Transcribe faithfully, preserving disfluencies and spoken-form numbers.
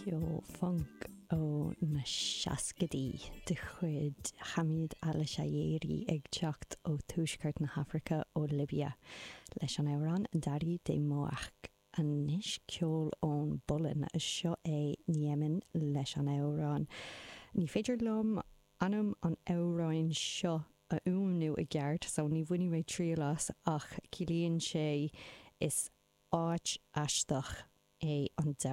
Ceol funk ó na seascaidí de chuid Hamid Al-Shaeri ag teacht ó tuaisceart na hAfraice ó Libia leis an amhrán Dari de Moach anois ceol ón bPolainn seo é Niemen leis an amhrán. Ní féidir liom ainm an amhráin seo a fhuaimniú i gceart, so ní bhainfidh mé triail as ach ciallaíonn sé is áit aisteach é an domhan.